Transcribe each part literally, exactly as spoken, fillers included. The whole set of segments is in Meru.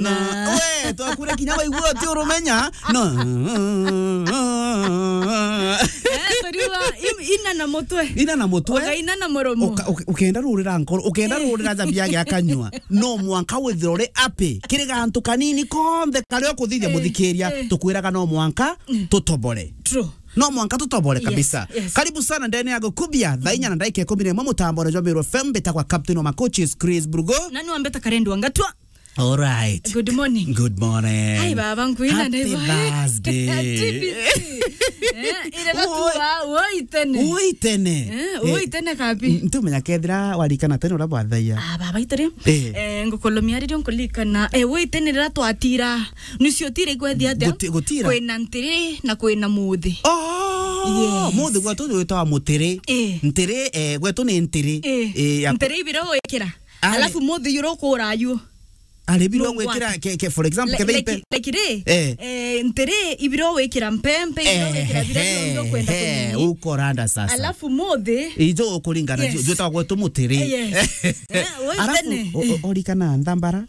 Na we, twakwira kinya waigua uti urumenya. No. Eh, turiuga, im-, ina na mutwe. Ina na mutwe. Ugaina na muromo. Uka-, uka-, ukenda rurira nkoro, ukenda Eh. rurira jabia gia kanyua. No mwanka withire uri api. Kiri gantu kanini konthe karia ukuthithia Eh, muthikiria, eh. tukwiraga no mwanka Mm. tutobore. True. No mwanka tutobore Yes, kabisa. yes. Karibu sana ndene ya Gukubia, thaa inya na ndagika ikumi na imwe mutambone jwa Meru F M, mbitagwa Captain wa Macoaches, Chris Brugo. Na ni wambeta Karendu wa Ngatwa. All right. Good morning. Good morning. Hai, baba, nkwina Happy ndaibo. Thursday. T B C. Eh, ile na tu Oi. wa, woi tene. Woi tene. Eh, Eh, woi tene kabi. n-, ntumenya kethira warikana tene uria bwathaia. Ah, baba, itiri. Eh. Eh, ngukolomia ririo nkulikana. Eh, woi tene rira twatira. Nucio tira igwethia atia? Guti-, gutira. Kwina ntiri na kwina muthi. Oh, Yes. muthi gwetu witawa mutiri. Eh. Ntiri, eh, gwetu ni ntiri. Eh. Eh, ya Ntiri ibiro wikira. Ari- Alafu muthi yuro kurayu. Ari biro Nungwati. gwikira ke, ke, for example, Like, kethe like, ipe- like ri, Eh. eh, ntiri ibiro wikira mpempe, ibiro wikira bira bionthe ukwenda Eh, kunini. ukoranda sasa. Alafu muthi Ijo ukuringana Yes. ju-, jwitagwa gwetu mutiri. Eh, yes. Eh, woi Alafu, tene. o-, o-, orikana nthambara.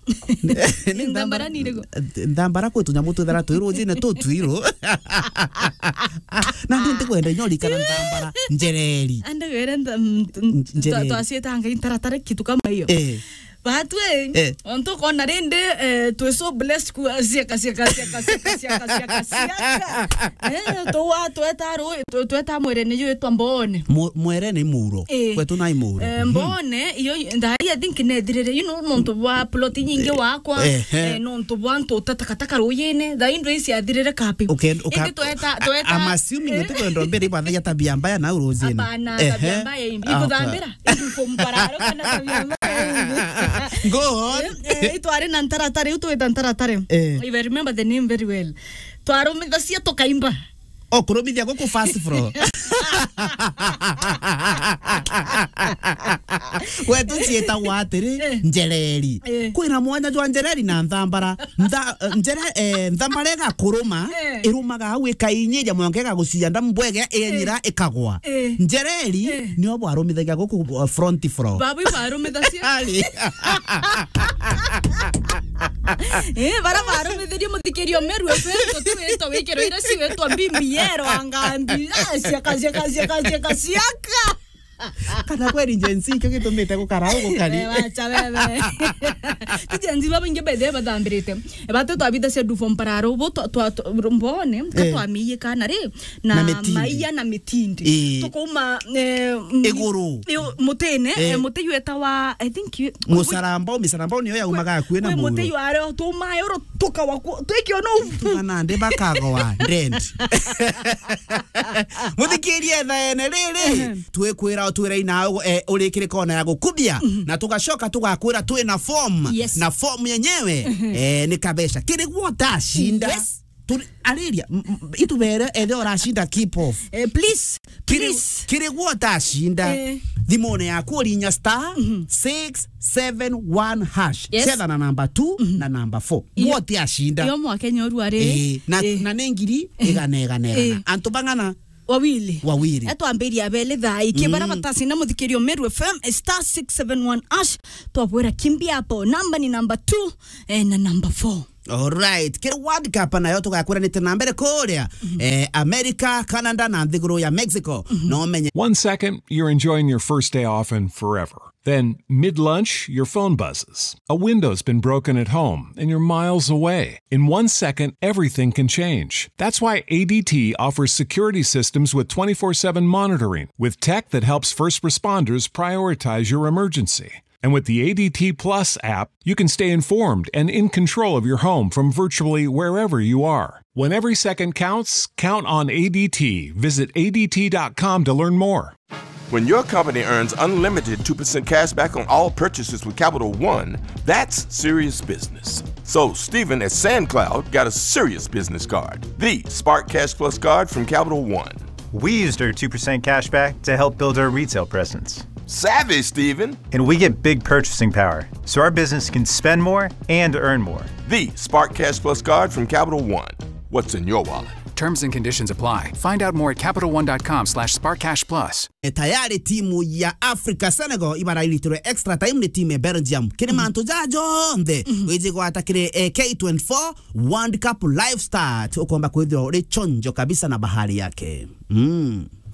Ni Nthambara ni iriku? Nthambara kwi tunyamu twithara twi rujine tu twiru. Na ndi ndikwenda inya urikana nthambara. Njereri. Ande were ntha-, mm, mm, Njereri. twa-, twacitanga intaratara kitu kama hiyo. Eh. Batwe, Eh. ontu kona rindi, eh, twe so blessed ku-, ciaka, ciaka, ciaka. Eh, tuwa, tweta ru-, twe-, tweta mwere ni yitwa Mbone. Mu-, mwere ni muro. Eh. Kwetu nai muro. Eh, Mhm. Mbone, iyo, ndari, I think nethirire, you know, nontu bwa plot nyingi wakwa, Eh, eh. eh, nontu bwa ntu utatakataka ruyine, thaa indu ici athirire kapi. Uken-, uka-, Indi tweta, a-, tweta, I'm assuming eh. utikwenda mbere ibathagia tabia mbaya na urujine. Hapana, Ehe. tabia mbaya imbi. Ah, Ikuthambira, indu fo mpararo kana tabia mbaya imbi. Go on. Eh, eh, itwari na ntaratara, iu twita ntaratara. Eh. If I remember the name very well. Twarumithacia tukaimba. O kurumithia guku first floor. Gwetu ciitagwa atiri, Eh. njereri. Eh. Kwina mwanya jwa njereri na nthambara. Ntha-, njere-, eh, nthambara igakuruma, Eh. irumaga au ikainyiria mwanka igagucia nda mbwege, inyira ikagwa. Eh. Njereri Eh. nio bwarumithagia guku, uh, front floor. Babu ibarumithacia. Ari. Eh, bara barumithirie muthikirio Meru F M, tutwitwa wikiro ira ciwitwa B B L angambi. Ah, ciaka, ciaka, ciaka, ciaka, ciaka. Kana kweri Gen Z ikio gitumite gukara au gukari? Eh, wacha wewe. Ti Gen Z babaingi by the way bathambirite. Batu twabithacia du form pararo, bo twa, twa, twa, Mbone, ka Eh. twamiiye kana ri, na Na mitindi. maiya na mitindi. Eh. Tukauma, eh, m-, Iguru. i-, mutine, Eh. eh, muti yu etawa, I think yu-, Musarambau, misarambau niyo yaumaga akui na kwi muti muro. yu ario tumae uro tukawa ku-, twikio no. Tugana ndi bakagoa, dead. Muthikirie thaene riri, Ehe. twikwira utwira ina, eh, urikire kona ya gukubia, Mhm. na tugacoka tugakwira twina form, Yes. na form yenyewe, Ehe. eh, ni kabesha. Kiri gwo utashinda. Yes. Turi-, ariria, m-, m-, itubere ethe uracinda keep off. Eh, please, Kiri, please. kiri gwo utashinda. Eh. Thimune yaku urinya star Mhm. six seven one hash. Yes. Cetha na namba two Mhm. na namba four. Iyo. Gwo utiacinda. Iyo mwakenya urua riri. Eh, na, Eh. na ni ngiri igana, igana, igana. Eh. Antu bang'ana? Wawili. Wawili. Etwambiria beli thaa iki, bara Mm. batacinda muthikirio Meru F M, star six seven one hash. Twabwira kimbia hapo. Namba ni namba two, eh, na namba four. Alright. Kiri World Cup nayo tugakuranite na mbere kuria, Mhm. eh, America, Canada na nthiguru ya Mexico. Mhm. No menye. One second, you're enjoying your first day off and forever. Then, mid lunch, your phone buzzes. A window's been broken at home and you're miles away. In one second, everything can change. That's why A D T offers security systems with twenty-four seven monitoring, with tech that helps first responders prioritize your emergency. And with the A D T Plus app, you can stay informed and in control of your home from virtually wherever you are. When every second counts, count on A D T. Visit A D T dot com to learn more. When your company earns unlimited two percent cash back on all purchases with Capital One, that's serious business. So, Stephen at SandCloud got a serious business card, the Spark Cash Plus card from Capital One. We used our two percent cash back to help build our retail presence. Savvy, Stephen. And we get big purchasing power, so our business can spend more and earn more. The Spark Cash Plus card from Capital One. What's in your wallet? Terms and conditions apply. Find out more at capital one dot com slash spark cash plus. E, tayari timu ya Africa Senegal ibarairitwe extra time ni timu ya Belgium. Kiri mantu ja jonthe wiji gwata kiri, e, K twenty-four World Cup live start, ukomba kwithirwa uri chonjo kabisa na bahari yake. Mm.